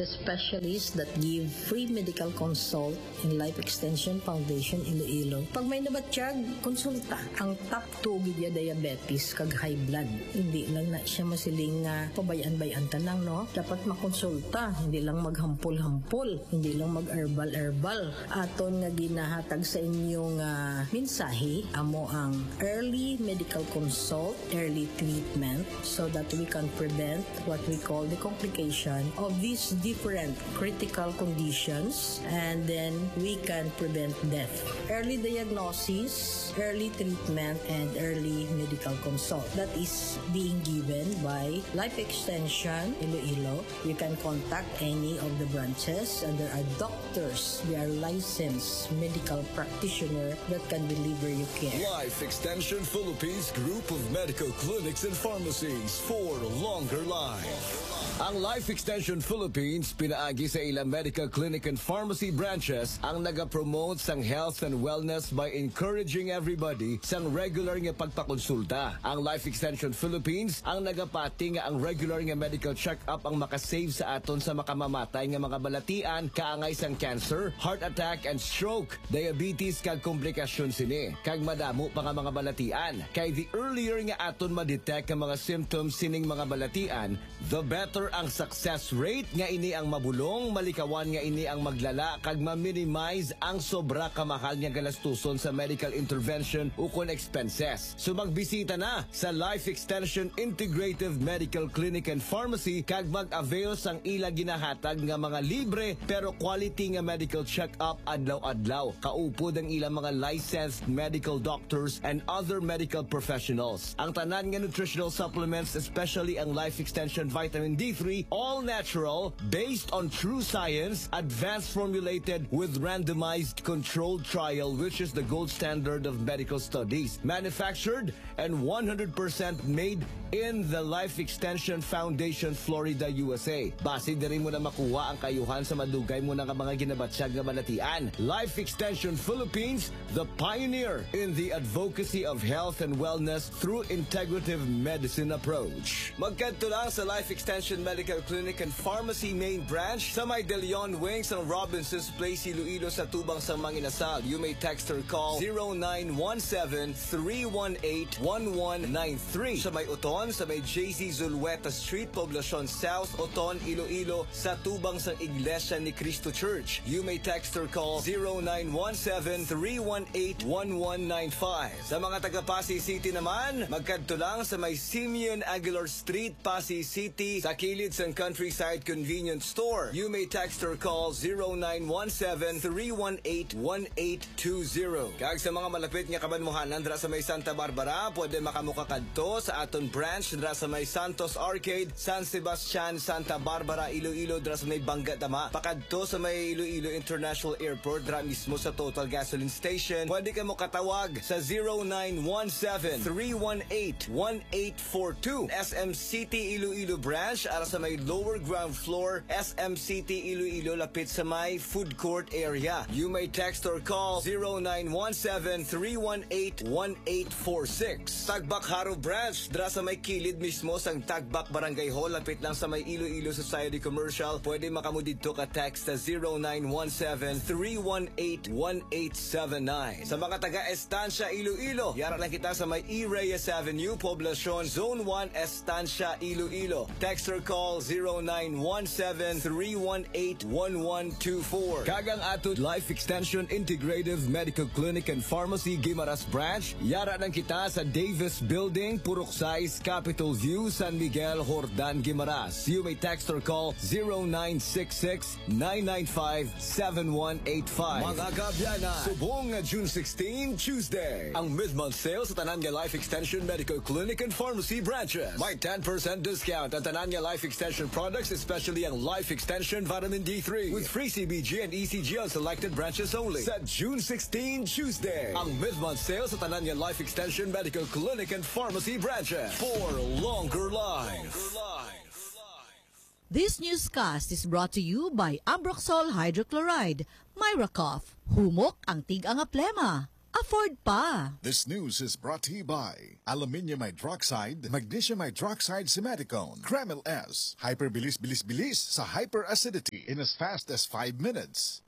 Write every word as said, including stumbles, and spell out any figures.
The specialists that give free medical consult in Life Extension Foundation Iloilo. Pag may nabatyag, konsulta. Ang top two gid ya diabetes kag high blood. Hindi lang na siya masiling nga pabay-an-bay-an ta lang, no? Dapat makonsulta, hindi lang maghampol-hampol, hindi lang mag-herbal-herbal. Aton nga ginahatag sa inyo nga mensahe, amo ang early medical consult, early treatment, so that we can prevent what we call the complication of these different critical conditions, and then we can prevent death. Early diagnosis, early treatment, and early medical consult. That is being given by Life Extension Iloilo. You can contact any of the branches, and there are doctors, they are licensed medical practitioner that can deliver you care. Life Extension Philippines Group of Medical Clinics and Pharmacies for longer life. Ang Life Extension Philippines pinaagi sa ilang medical clinic and pharmacy branches ang nagapromote sang health and wellness by encouraging everybody sang regular nga pagpakonsulta. Ang Life Extension Philippines ang nagapati nga ang regular nga medical check-up ang makasave sa aton sa makamamatay nga mga balatian kaangay sang cancer, heart attack and stroke, diabetes kag komplikasyon sini, kag madamo pa nga mga balatian. Kay the earlier nga aton ma-detect ang mga symptoms sining mga balatian, the better ang success rate nga ini ang mabulong, malikawan nga ini ang maglala, kag ma-minimize ang sobra kamahal nga galastuson sa medical intervention ukon expenses. So magbisita na sa Life Extension Integrative Medical Clinic and Pharmacy kag mag-avail sang ila ginahatag nga mga libre pero quality nga medical check-up adlaw-adlaw. Kaupod ang ilang mga licensed medical doctors and other medical professionals. Ang tanan nga nutritional supplements, especially ang Life Extension Vitamin D three, all natural, based on true science, advanced formulated with randomized controlled trial, which is the gold standard of medical studies. Manufactured and one hundred percent made in the Life Extension Foundation, Florida, U S A. Basi diri mo na makuha ang kaayuhan sa madugay mo na nga mga ginabatyag nga balatian. Life Extension Philippines, the pioneer in the advocacy of health and wellness through integrative medicine approach. Magkadto lang sa Life Extension Medical Clinic and Pharmacy Main Branch sa may De Leon Wing sa Robinson's Place, Iloilo, sa tubang sang Manginasal. You may text or call zero nine one seven, three one eight, one one nine three. Sa may Oton, sa may J C Zulueta Street, Poblacion South, Oton, Iloilo, sa tubang sang Iglesia ni Cristo Church. You may text or call zero nine one seven, three one eight, one one nine five. Sa mga taga Passi City naman, magkadto lang sa may Simeon Aguilar Street, Passi City, sa kilid sang Countryside Convenience Store. You may text or call zero nine one seven, three one eight, one eight two zero. Kag sa mga malapit nga kabanwahanan dira sa may Santa Barbara, pwede makamukakadto sa aton branch dira sa may Santos Arcade, San Sebastian, Santa Barbara, Iloilo, dira sa may Bangga Tama. Pakadto sa may Iloilo International Airport, dira mismo sa Total Gasoline Station. Pwede ka mo katawag sa zero nine one seven, three one eight, one eight four two. S M City Iloilo Branch, ara sa may lower ground floor, S M City Iloilo, lapit sa may food court area. You may text or call zero nine one seven, three one eight, one eight four six. Tagbak Jaro Branch, dira sa may kilid mismo sang Tagbak Barangay Hall, lapit lang sa may Iloilo Society Commercial. Pwede maka mo didto ka text sa zero nine one seven, three one eight, one eight seven nine. Sa mga taga Estancia, Iloilo, yara lang kita sa may E. Reyes Avenue, Poblacion, Zone one, Estancia, Iloilo. Text or call zero nine one seven, three one eight, one one two four. Kag ang aton Life Extension Integrative Medical Clinic and Pharmacy Guimaras Branch, yara lang kita sa Davis Building, Purok sais, Capitol View, San Miguel, Jordan, Guimaras. You may text or call zero nine six six, nine nine five, seven one eight five. Mga kaabyanan, subong nga June sixteen, Tuesday, ang mid-month sale sa tanan nga Life Extension Medical Clinic and Pharmacy branches. May ten percent discount ang tanan nga Life Extension products, especially ang Life Extension Vitamin D three, with free C B G and E C G on selected branches only. Sa June sixteen, Tuesday, ang mid-month sale sa tanan nga Life Extension Medical Clinic and Pharmacy branches for longer life. This newscast is brought to you by Ambroxol Hydrochloride. Myra Cough, humok ang tig-a nga plema. Afford pa. This news is brought to you by aluminium hydroxide, magnesium hydroxide, simeticone, Kremil S, hyperbilis-bilis-bilis sa hyperacidity in as fast as five minutes.